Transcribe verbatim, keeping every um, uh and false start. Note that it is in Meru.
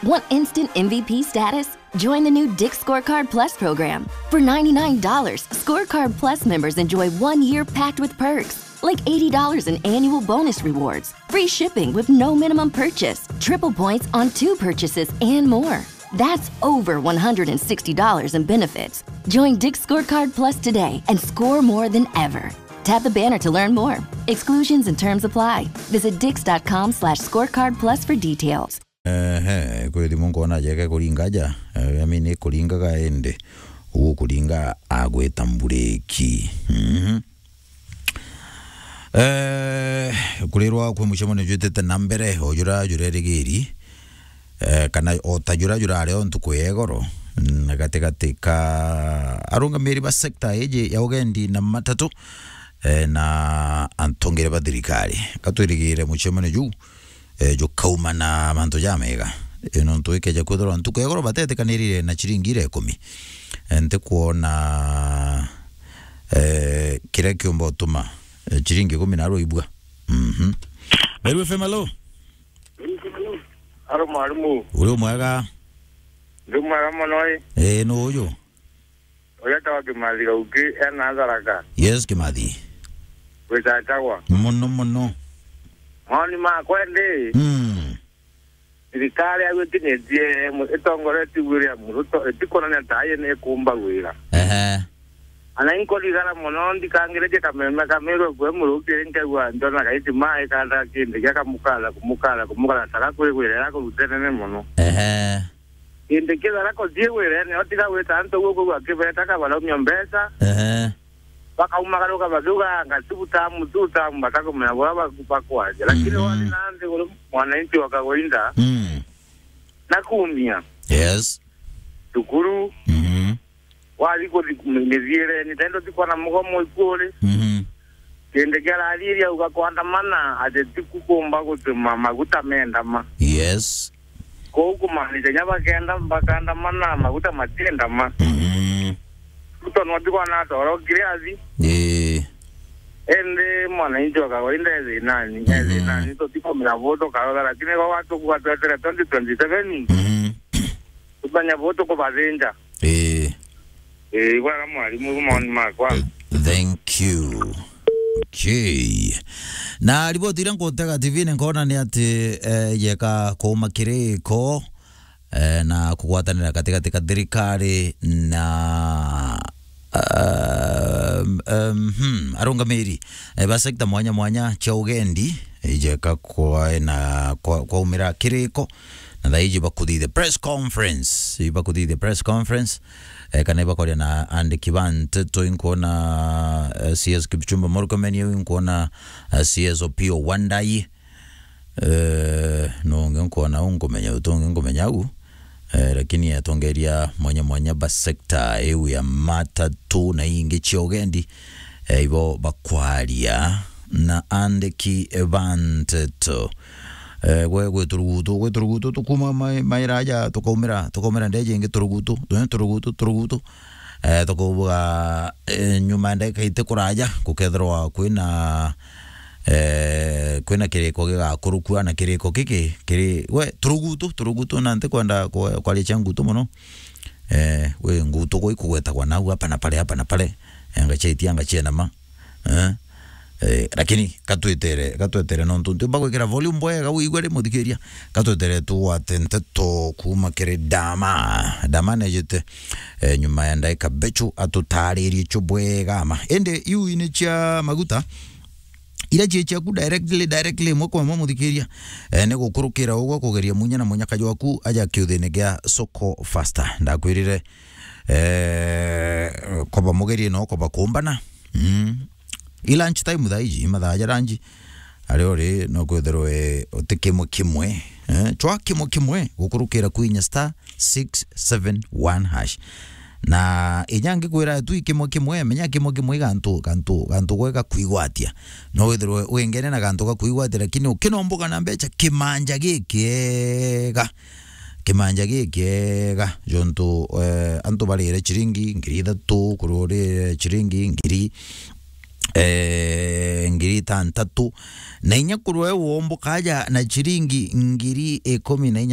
Want instant M V P status? Join the new Dick's Scorecard Plus program. For ninety-nine dollars, Scorecard Plus members enjoy one year packed with perks, like eighty dollars in annual bonus rewards, free shipping with no minimum purchase, triple points on two purchases, and more. That's over one hundred sixty dollars in benefits. Join Dick's Scorecard Plus today and score more than ever. Tap the banner to learn more. Exclusions and terms apply. Visit dicks.com slash scorecard plus for details. Ehe, kwi thimu nkona jeke kuringa ja. Eh, I mean, ikuringaga indi. Ugukuringa agwita mbureki. Mhm. Eh, kurirwa kwi mucemanio jwitite na mbere, o jura jurerigiri, eh, kana o ta jura jurari o ntuku ya igoro, na gatigati ka arungamiri ba sekta iji ya ugendi na matatu, eh, na atongere ba thirikari. Gatwirigire mucemanio juu, eh, jukauma na mantu jamega. Eh, nontu ikeja kwithirwa ntuku ya igoro batetikanirire na ciringi iria ikumi. Eh, ntikwona, eh, kiria kiumba utuma, eh, ciringi ikumi narua ibua. Mhm. Meru F M, hello. Aro mwarimu. Uri umwega? Ndi mwega mono ii. Eh, nu uyu? Uria tawa Kimathi Gauki, ena Tharaka. Yes, Kimathi. Gwicacagwa. Mono, mono. Maoni makwa ndi, Mm. thirikari au itinitie mu-, itongoretie William Ruto, itikwonania ta aye ni ikumba wira. Ehe. Ana inkurigara mono, ndikangiritie kameme kamirwe kwe muruki, nkegua njona gaiti mai kanda kindi gia kamukala, kumukala, kumukala, taka kwigwira ira kurutenene mono. Ehe. Kindi kithara kuthii wirene, otiga gwita antu uguo kwigua kibeta kabaraumia mbeca, Ehe. bakaumagaruka bakiuga, "Anga tu tamu, tu tamu," batakumenya buria baku-, bakwaria. Lakini Mhm. wari na nthiguru, mwananchi wa kawaida, Mm. nakumia. Yes. Cukuru, Mhm. wathi kuthi mi-, mithiireni, tendo tikwana mugomo ikuri. Mhm. Kindi kia rariri auga kwandamana, ati ti kukumba gutuma maguta mendama. Yes. Kou kumaanisha nya bakenda, bakandamana, maguta matiendama. Mhm. Ruto no tikwana atoro kiriathi. Ii. Indi mwananchi wa kawaida e thinani, e Mhm. thinani, tutikumenya bu tukarora, lakini gwa tukuga twetere twenty twenty-seven, Mhm. tumenya bu tukubathinja. Ii. Ii, bwega mwarimu, maoni makwa. Thank you. Okay. Na riboti iria nkutega T V-ini nkona ni ati, eh, yeka kuuma kiriko, eh, na kugwatanira gatigati ka thirikari na, um, um, hmm, arungamiri, eh, ba sekta mwanya mwanya cia ugendi, ijeka kwa na kwa, kwaumira kiriko, na thaiji bakuthithia press conference, ibakuthithia press conference, eh, kana ibakoria na andiki ba nteto, inkuona, eh, C S Kipchumba Murkomen, iu inkuona, eh, C S Opiyo Wandayi, eh, nungi nkuona u nkumenya, utungi nkumenya u, eh, lakini atongeria mwanya mwanya ba sekta iu ya matatu na ingi cia ugendi, eh, ibo bakwaria na andiki ba nteto. Eh, gwe, gwe turugutu, gwe turugutu tukuma mai-, maira aja, tukaumira, tukaumira ndeje ingi turugutu, tu-, turugutu, turugutu. Eh, tukubuga, eh, nyuma ya ndagika iti kuraja, gukethirwa kwina, eh, kwina kiriko gigakurukua, na kiriko giki kiri, we, turugutu, turugutu, na ntikwenda kwa-, kwaria cia ngutu mono. Eh, we, ngutu gwe ikugwetagwa nau hapa na pale, hapa na pale. Eh, ngachetia, ngachienama. Eh? Eh, lakini katwetere, katwetere nontu ntiumba gwikira volume bwega wigwe ri muthikiria. Katwetere tugwate nteto kuuma kiri Dama. Dama nejite, eh, nyuma ya ndaika bechu atutaririe cho bwega ma. Indi iu ini cia maguta, ira cie ciaku directly, directly imwe kwa imwe muthikiria. Eh, ni gukurukira ugwe kugeria munya na munyaka jwaku aja kiuthini gia Soko Faster. Ndakwirire, eh, koba mugerie no koba kumbana. Mm. I lunch time thaa iji, i mathaa ja lunch. Ari ori no kwithirwe uti kimwe kimwe, eh, chwa kimwe kimwe gukurukira kwinya star six seven one hash. Na inya ngikwira tu i kimwe kimwe, menya kimwe kimwe i gantu, gantu, gantu gwega kwigwatia. No withirwe wingene na gantu ga kwigwatia, lakini ukinomboka na mbecha kimanja gikiega. Kimanja gikiega, jontu, eh, antu barire chiringi ngiri ithatu, kurwa urire chiringi ngiri, eh, ngiri itantatu, na inya kurwa we womboka aja na chiringi ngiri ikumi na inya